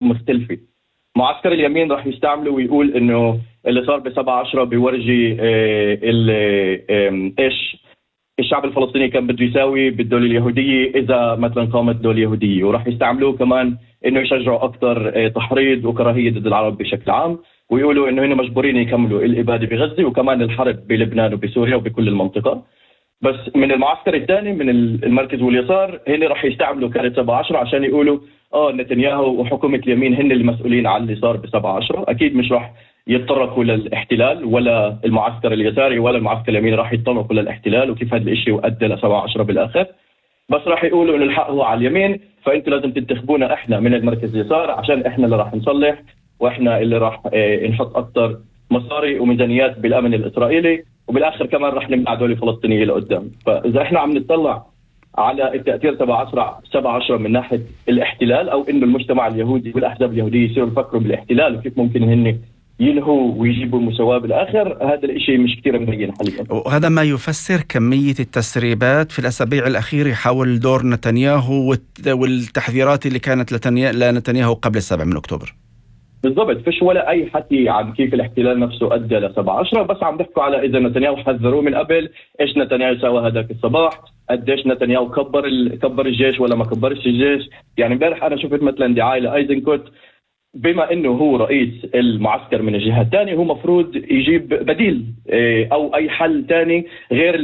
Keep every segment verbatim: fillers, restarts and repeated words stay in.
مختلفة. معسكر اليمين راح يستعمله ويقول إنه اللي صار بسبعة عشرة بيورجي إيش الشعب الفلسطيني كان بده يساوي بالدولة اليهودية إذا مثلا قامت دولة يهودية، وراح يستعملوه كمان إنه يشجعوا أكثر تحريض وكراهية ضد العرب بشكل عام، ويقولوا إنه هنا مجبورين يكملوا الإبادة بغزة وكمان الحرب بلبنان وبسوريا وبكل المنطقة. بس من المعسكر الثاني من المركز واليسار هنا راح يستعملوا كارت سبعة عشرة عشان يقولوا آه نتنياهو وحكومة اليمين هن اللي مسؤولين عن اللي صار بسبعة عشرة. أكيد مش راح يتطرقوا للاحتلال ولا المعسكر اليساري ولا المعسكر اليمين راح يتطرقوا للاحتلال وكيف هذا الاشي يؤدي لسبعة عشرة بالآخر، بس راح يقولوا إنه الحق هو على اليمين، فأنتوا لازم تنتخبونا إحنا من المركز اليسار عشان إحنا اللي راح نصلح وإحنا اللي راح اه نحط أكتر مصاري وميزانيات بالأمن الإسرائيلي، وبالآخر كمان راح نمنع دولة فلسطينية لقدام. فإذا إحنا عم نطلع على التأثير تبع سبعة عشرة من ناحية الاحتلال أو إنه المجتمع اليهودي والأحزاب اليهودية يصيروا يفكروا بالاحتلال وكيف ممكن هن ينهوا ويجيبوا المساواة بالآخر، هذا الشيء مش كتير مبين حاليا. وهذا ما يفسر كمية التسريبات في الأسابيع الأخيرة حول دور نتنياهو والتحذيرات اللي كانت لنتنياهو قبل السابع من أكتوبر. بالضبط، فيش ولا أي حكي عن كيف الاحتلال نفسه أدى لسبعة عشرة، بس عم بحكوا على إذا نتنياهو حذروه من قبل، إيش نتنياهو سوى هذاك الصباح، قديش نتنياهو كبر كبر الجيش ولا ما كبرش الجيش. يعني امبارح أنا شفت مثلا دعاية لأيزنكوت، بما انه هو رئيس المعسكر من الجهة الثانية هو مفروض يجيب بديل او اي حل ثاني غير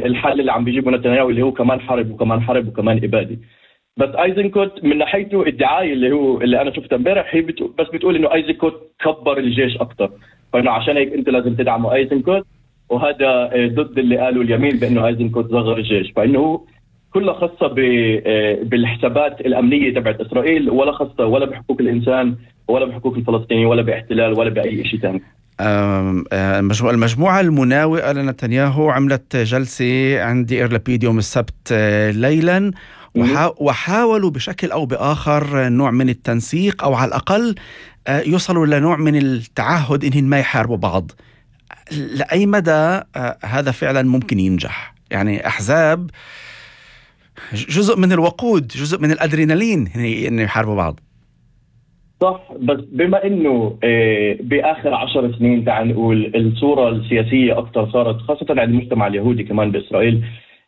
الحل اللي عم بيجيبه نتنياهو اللي هو كمان حرب وكمان حرب وكمان ابادة. بس ايزنكوت من ناحيته الدعاية اللي هو اللي انا شفتها امبارح هي بتقول بس بتقول انه ايزنكوت كبر الجيش اكثر، فانه عشان هيك انت لازم تدعموا ايزنكوت، وهذا ضد اللي قالوا اليمين بانه ايزنكوت صغر الجيش، فانه كلها خاصة بالحسابات الأمنية تبعت إسرائيل ولا خاصة ولا بحقوق الإنسان ولا بحقوق الفلسطينيين ولا باحتلال ولا بأي شيء ثاني. المجموعة المناوئة لنتنياهو عملت جلسة عند إير لابيد يوم السبت ليلا وحاولوا بشكل أو بآخر نوع من التنسيق أو على الأقل يوصلوا لنوع من التعهد إنهم ما يحاربوا بعض. لأي مدى هذا فعلا ممكن ينجح؟ يعني أحزاب جزء من الوقود، جزء من الأدرينالين إن يحاربوا بعض. صح، بس بما إنه بآخر عشر سنين تعال نقول الصورة السياسية أكتر صارت خاصة عند المجتمع اليهودي كمان بإسرائيل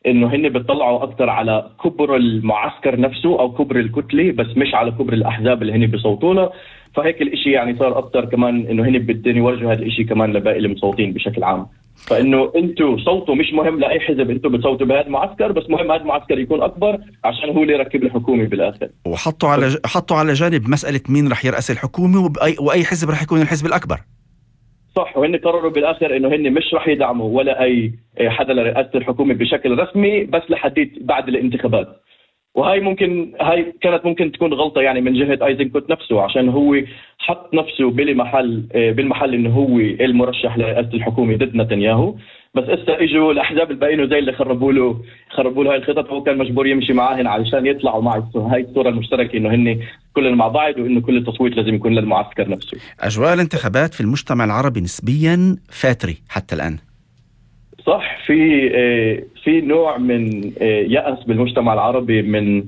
إنه هن بيطلعوا أكتر على كبر المعسكر نفسه أو كبر الكتلة، بس مش على كبر الأحزاب اللي هن بيصوتوا له، فهيك الإشي يعني صار أكتر كمان إنه هن بدهم يورجوا هذا الإشي كمان لباقي المصوتين بشكل عام، فإنه أنتوا صوتوا مش مهم لأي حزب، أنتوا بتصوتوا بهذا المعسكر، بس مهم هذا المعسكر يكون أكبر عشان هو اللي يركب الحكومة بالآخر. وحطوا على ج... حطوا على جانب مسألة مين رح يرأس الحكومة وبأي... وأي حزب رح يكون الحزب الأكبر. صح، وهن قرروا بالآخر إنه هن مش رح يدعموا ولا أي حدا لرئاسة الحكومة بشكل رسمي بس لحديت بعد الانتخابات، وهاي ممكن هاي كانت ممكن تكون غلطة يعني من جهة ايزنكوت نفسه عشان هو حط نفسه بالمحل بالمحل انه هو المرشح لرئاسة الحكومة ضد نتنياهو، بس اسا اجوا الاحزاب الباقيين زي اللي خربوا له خربوا له هاي الخطط، هو كان مجبور يمشي معاهن علشان يطلعوا مع هاي الصورة المشتركة انه هن كلنا مع بعض وانه كل التصويت لازم يكون للمعسكر نفسه. اجواء الانتخابات في المجتمع العربي نسبيا فاتري حتى الان. صح، في في نوع من يأس بالمجتمع العربي من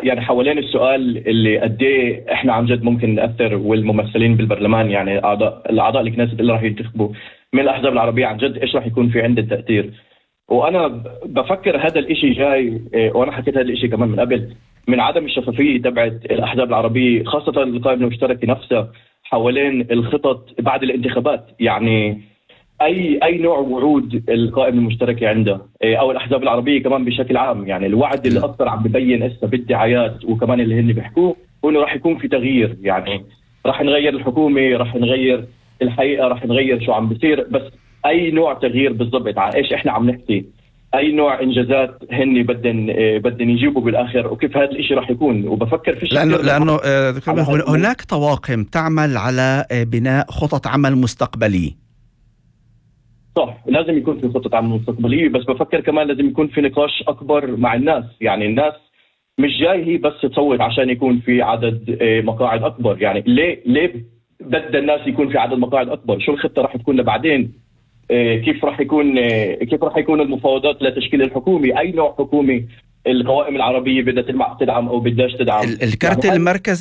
يعني حوالين السؤال اللي قد ايه احنا عن جد ممكن نأثر، والممثلين بالبرلمان يعني اعضاء الاعضاء الكنيست اللي راح ينتخبوا من الاحزاب العربية عن جد ايش راح يكون في عنده تأثير. وانا بفكر هذا الاشي جاي، وانا حكيت هذا الاشي كمان من قبل، من عدم الشفافية تبعت الاحزاب العربية خاصة القائمة المشتركة نفسها حوالين الخطط بعد الانتخابات. يعني اي اي نوع وعود القائمه المشتركه عنده او الاحزاب العربيه كمان بشكل عام، يعني الوعد اللي اكثر عم ببين هسه بالدعايات وكمان اللي هن بيحكوه انه راح يكون في تغيير، يعني راح نغير الحكومه، راح نغير الحقيقه، راح نغير شو عم بيصير، بس اي نوع تغيير بالضبط على ايش احنا عم نحكي، اي نوع انجازات هن بدن بدن يجيبوا بالاخر، وكيف هذا الشيء راح يكون. وبفكر في لانه لانه هناك طواقم تعمل على بناء خطط عمل مستقبليه. صح، لازم يكون في خطة عمل مستقبلية، بس بفكر كمان لازم يكون في نقاش أكبر مع الناس. يعني الناس مش جاي هي بس تصوت عشان يكون في عدد مقاعد أكبر، يعني ليه ليه بدأ الناس يكون في عدد مقاعد أكبر؟ شو الخطة راح تكون لبعدين؟ كيف راح يكون كيف راح يكون المفاوضات لتشكيل الحكومة؟ أي نوع حكومة القوائم العربية بدها تدعم أو بدهاش تدعم. الكارت يعني المركزي